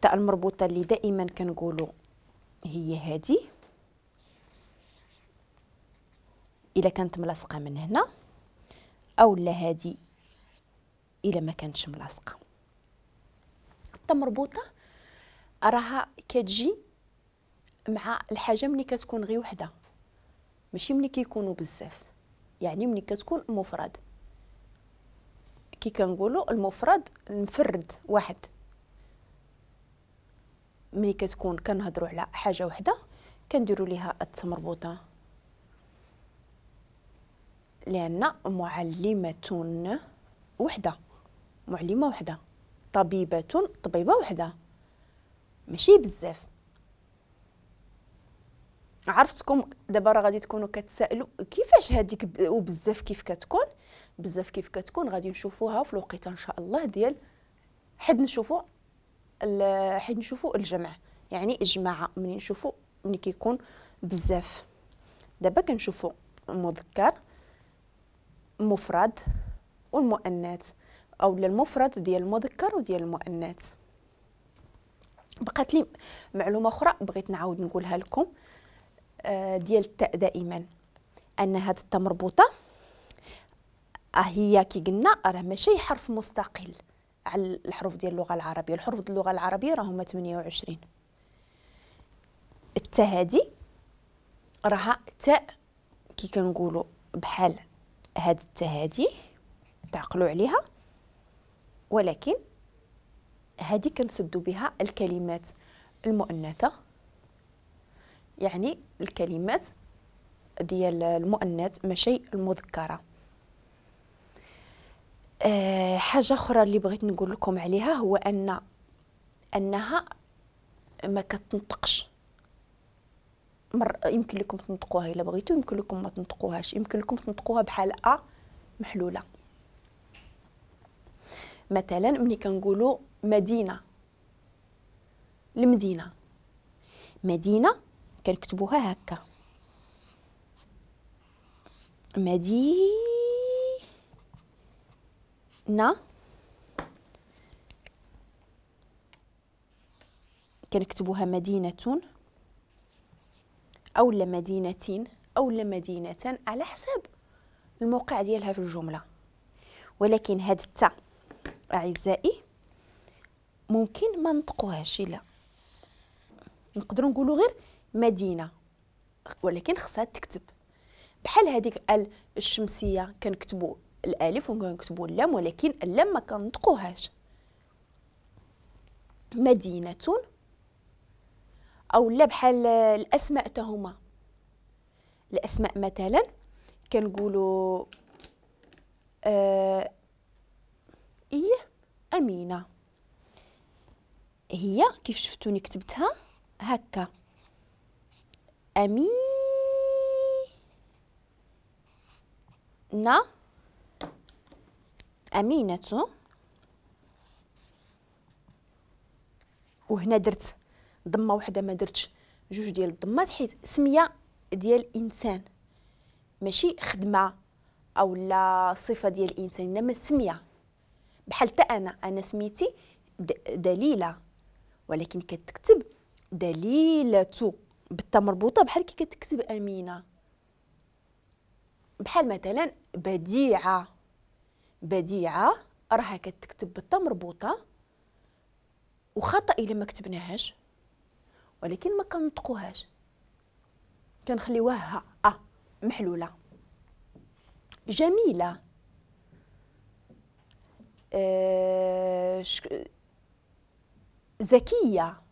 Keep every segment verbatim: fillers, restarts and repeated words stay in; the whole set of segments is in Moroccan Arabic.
التاء المربوطة اللي دائما كنقولوا هي هذه إلا كانت ملاصقة من هنا، أو لا هذه إلا ما كانتش ملاصقة. التاء مربوطة راها كتجي مع الحاجة ملي كتكون غير وحدة، ماشي ملي كيكونوا بزاف، يعني ملي كتكون مفرد. كي كنقولوا المفرد المفرد واحد، ملي كتكون كنهضروا على حاجة وحدة كنديروا ليها التاء مربوطة، لأن معلمة وحدة، معلمة وحدة، طبيبة طبيبة وحدة، ماشي بزاف. عرفتكم دابا راه غادي تكونوا كتسائلوا كيفاش هذيك وبزاف كيف كتكون، بزاف كيف كتكون غادي نشوفوها في الوقيته ان شاء الله ديال حد نشوفوا حد نشوفوا الجمع، يعني الجماعة ملي نشوفوا ملي كيكون بزاف. دابا كنشوفوا المذكر مفرد والمؤنث، او المفرد ديال المذكر وديال المؤنث. بقات لي معلومة اخرى بغيت نعاود نقولها لكم ديال التاء دائما، ان هاد التاء مربوطة هي كي قلنا راه ماشي حرف مستقل على الحروف ديال اللغة العربية. الحروف ديال اللغة العربية راه هما ثمانية وعشرين. التاء هادي راها تاء كي كنقولوا بحال هاد التاء هادي تعقلوا عليها، ولكن هادي كنسدوا بها الكلمات المؤنثة، يعني الكلمات ديال المؤنث ماشي المذكرة. أه حاجة اخرى اللي بغيت نقول لكم عليها هو ان انها ما كتنطقش. مر يمكن لكم تنطقوها الا بغيتو، يمكن لكم ما تنطقوهاش، يمكن لكم تنطقوها بحال ا محلولة. مثلا ملي كنقولوا مدينة، المدينة، مدينة كنكتبوها هكا، مدينة، كنكتبوها مدينة أو لا مدينتين أو لا مدينة على حساب الموقع ديالها في الجملة. ولكن هاد التاء أعزائي ممكن ما نطقوهاش، لا نقدروا نقولوا غير مدينة، ولكن خصها تكتب بحال هذيك ال الشمسية كنكتبوا الالف وكنكتبوا اللام، ولكن اللام ما كنطقوهاش. مدينة او لا بحال الاسماء تاهما، الاسماء مثلا كنقولوا آه ايه امينه، هي كيف شفتوني كتبتها هكا أمينة، أمينة، وهنا درت ضمة وحدة ما درتش جوج ديال الضمات حيت سمية ديال إنسان ماشي خدمة أو لا صفة ديال إنسان، إنما سمية. بحال حتى أنا أنا سميتي دليلة، ولكن كتكتب دليلة بالتاء مربوطة بحال كي كتكتب أمينة. بحال مثلا بديعة، بديعة راها كتكتب بالتاء مربوطة وخطأ إلا ما كتبناهاش، ولكن ما كنطقوهاش كنخليوها أ محلولة. جميلة، أه ذكية،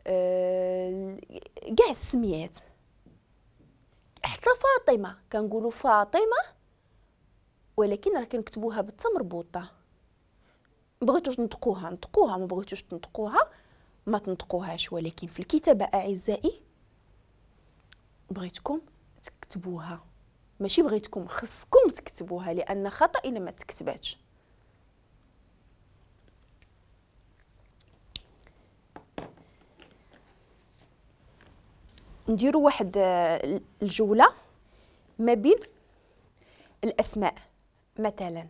أه كاع السميات. حتى فاطمة كنقولوا فاطمة، ولكن راه كنكتبوها بالتاء مربوطة. بغيتو تنطقوها نطقوها، ما بغيتوش تنطقوها ما تنطقوهاش، ولكن في الكتابة أعزائي بغيتكم تكتبوها، ماشي بغيتكم، خصكم تكتبوها، لأن خطأ إلا ما تكتباتش. نديروا واحد الجولة ما بين الأسماء. مثلا